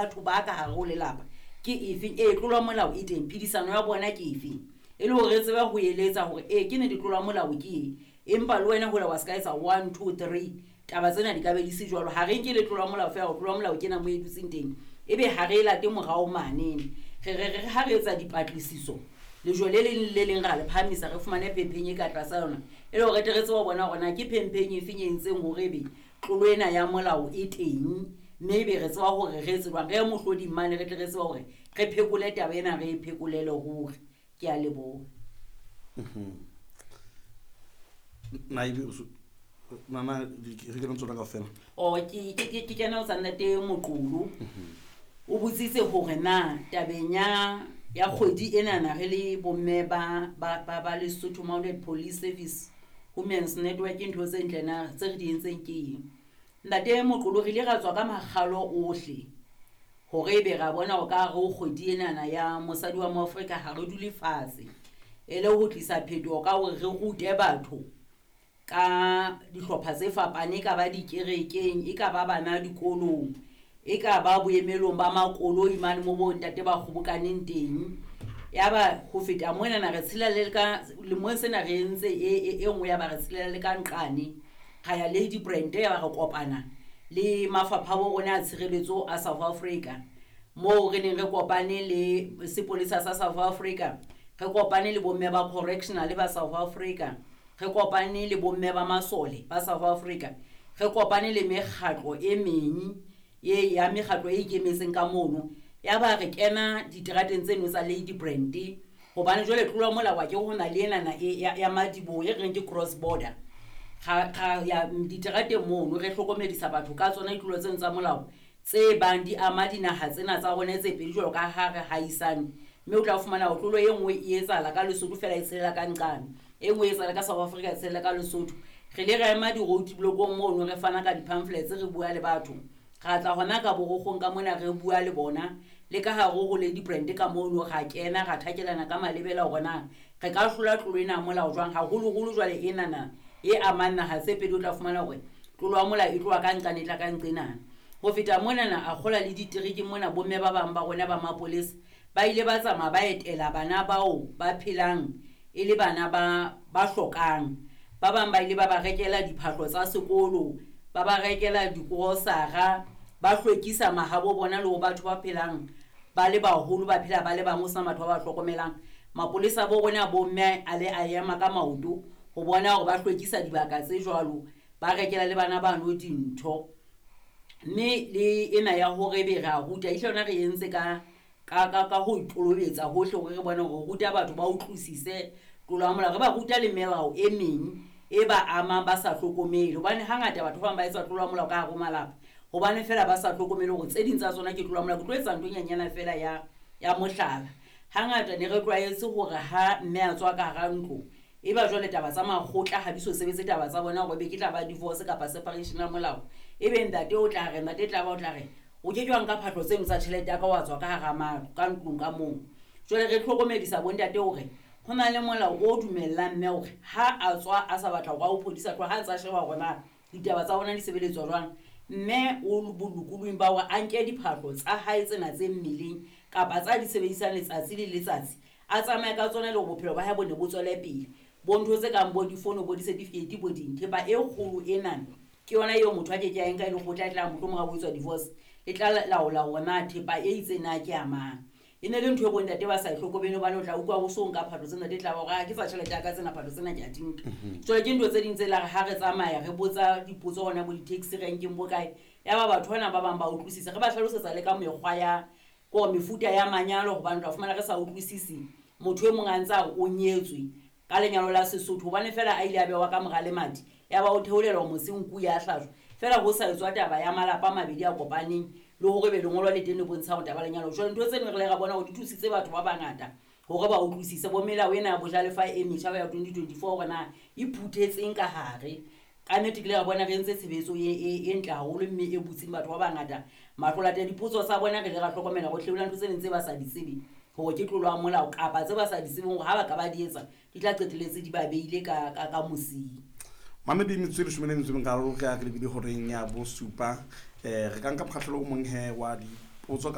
Batho ba ka hare ho lelapa ke efeng? Ee, tlolo ya molao e teng. Phedisano ya bona ke efeng? E le hore re tsebe ho eletsa hore ee, ke nete tlolo ya molao ke e, empa le wena hole wa se ka etsa one, two, three, taba tsena di ka be di se jwalo. Ha re nke le tlolo ya molao feela, tlolo ya molao ke ena mo e dutseng teng, ebe ha re e late morao mane. Re re re ha re etsa dipatlisiso, lejwe le leng le le leng ra le phahamisa, re fumane phempheng e ka tlasa yona, e le hore re tle re tsebe ho bona hore na ke phempheng efeng e entseng hore ebe tlolo ena ya molao e teng, mme ebe re tseba hore re etse jwang, re ye mohloding mane, re tle re tsebe hore re phekole taba ena, re e phekolele ruri. Ke a leboha. Na ebe nana re kena tsona kaofela? O ke kena ho tsa Ntate Moqolo. O botsitse hore na tabeng ya kgwedi enana re le bomme ba Lesotho Mounted Police Service Women's Network, ntho tse ntle na tse re di entseng ke eng? Ntate Moqolo, re ile ra tswa ka makgalo ohle hore ebe ra bona hore ka hare ho kgwedi enana ya mosadi wa Moafrika ha re dule fatshe, e le ho tlisa phetoho ka hore re rute batho ka dihlopha tse fapaneng, e ka ba dikerekeng, e ka ba bana dikolong, e ka ba boemelong ba makoloi mane mo bo ntate ba kgobokaneng teng. Yaba ho feta monana re tshela le ka lemong sena re entse e nngwe, ya ba re tshelela le ka nqane, ra ya Lady Brand, ya ba re kopana le mafapha a bo rona a tshireletso a South Africa, moo re neng re kopane le sepolesa sa South Africa, re kopane le bomme ba correctional ba South Africa, re kopane le bomme ba masole ba South Africa, re kopane le mekgatlo e meng e ya mekgatlo e ikemetseng ka mono. Ya ba re kena diterateng tseno tsa Lady Brand, hobane jwale tlolo ya molao ke ho na le enana e ya madiboho e reng ke cross border. Ga ya diterateng mono, re hlokomedisa batho ka tsona ditlolo tseno tsa molao tse bang di ama dinaha tsena tsa rona tse pedi jwalo ka ha re haisane. Mme o tla fumana hore tlolo e nngwe e etsahala ka Lesotho fela e tshelela ka nqane, e nngwe e etsahala ka South Africa e tshelela ka Lesotho. Re ile ra ema di-road block-ong mono, re fana ka di-pamphlets, re bua le batho. Ra tla hona ka borokgong ka mona, re bua le bona le ka hare ho Lady Brand ka mono, ra kena ra thakelana ka malebela hore na re ka hlola tlolo ena ya molao jwang, haholoholo jwale enana e amang naha tse pedi. O tla fumana hore tlolo ya molao e tloha ka nqane e tla ka nqenana. Ho feta monana a kgola le ditereke mona, bomme ba bang ba rona ba mapolesa ba ile ba tsamaya ba etela bana bao ba phelang e le bana ba hlokang. Ba bang ba ile ba ba rekela diphahlo tsa sekolo, ba ba rekela dikorosara, ba hlwekisa mahabo bona le ho batho ba phelang ba le baholo, ba phela ba le bang ho sena batho ba ba hlokomelang. Mapolesa bo rona bomme a le a ema ka maoto ho bona hore ba hlwekisa dibaka tse jwalo, ba rekela le bana bano dintho. Mme le ena ya hore ebe re a ruta, ehlile yona re entse ka ho ikolobetsa hohle hore re bone hore ruta batho ba utlwisise tlolo ya molao. Re ba ruta le melao e meng e ba amang ba sa hlokomele, hobane hangata batho ba bang ba etsa tlolo ya molao ka hare ho malapa hobane fela ba sa hlokomele hore tse ding tsa tsona ke tlolo ya molao. Ke tlo etsa ntho e nyenyana fela ya mohlala. Hangata ne re tlwaetse hore ha mme a tswa ka hara ntlo, e ba jwale taba tsa makgotla ha di so sebetse taba tsa bona hore be ke tla ba divorce kapa separation ya molao, ebe ntate o tla re, ntate tla ba o tla re o ke ke wa nka phahlo tseno tsa tjhelete ya ka wa tswa ka hara matlo ka ntlong ka moo. Jwale re hlokomedisa bontate hore ho na le molao o dumellang mme hore ha a tswa a sa batla hore a o phodisa tloha, ha a ntsa sheba hore na ditaba tsa bona di sebeletswa jwang, mme o bolokolohing ba hore a nke diphahlo tsa hae tsena tse mmeleng kapa tsa di sebedisang letsatsi le letsatsi, a tsamaye ka tsona le hore bophelo ba hae bo ne bo tswele pele. Bo ntho tse kang bo difono, bo di-certificate, bo ding, thepa e kgolo enana ke yona eo motho a ke ke a e nka e le kgotla, e tla mohlomong ha ho etswa divorce e tla laola hore na thepa e itseng na ke ya mang. E ne le ntho e bontate ba sa e hlokomele, hobane o tla utlwa ho so nka phahlo tsena, e tla ba hore ha ke tsa tjhelete ya ka tsena, phahlo tsena ke a di nka. Jwale ke ntho tse ding tse la re ha re tsamaya re botsa dipotso hona bo di-taxi renkeng bo kae, ya ba batho bana ba bang ba utlwisisa. Re ba hlalosetsa le ka mekgwa ya ko mefuta ya manyalo, hobane o tla fumana re sa utlwisisi motho e mong a ntse a re o nyetswe ka lenyalo la Sesotho, hobane fela a ile a bewa ka mora lemati, ya ba o theolelwa mose nku ya hlajwa fela, ho sa etswa taba ya malapa a mabedi a kopaneng le hore be lengolo le teng le bontsha hore taba lenyalo. Jwale ntho tseno re le ra bona hore di thusitse batho ba bangata hore ba utlwisise bo melao ena ya bojalefa e metjha ya 2024 hore na e phuthetseng ka hare. Ka nnete ke ile ra bona re entse tshebetso e ntle haholo mme e butseng batho ba bangata mahlo. Latela dipotso tsa bona, re ile ra hlokomela hore hlewela ntho tse ding tse ba sa di tsebe hore ke tlolo ya molao, kapa tse ba sa di tsebeng hore ha ba ka ba di etsa di tla qetelletse di ba beile ka mosing. Mamedi, metsotso e 17 re ya re lebile horeng ya 7. Re ka nka mokgahlelo o mong he wa dipotso.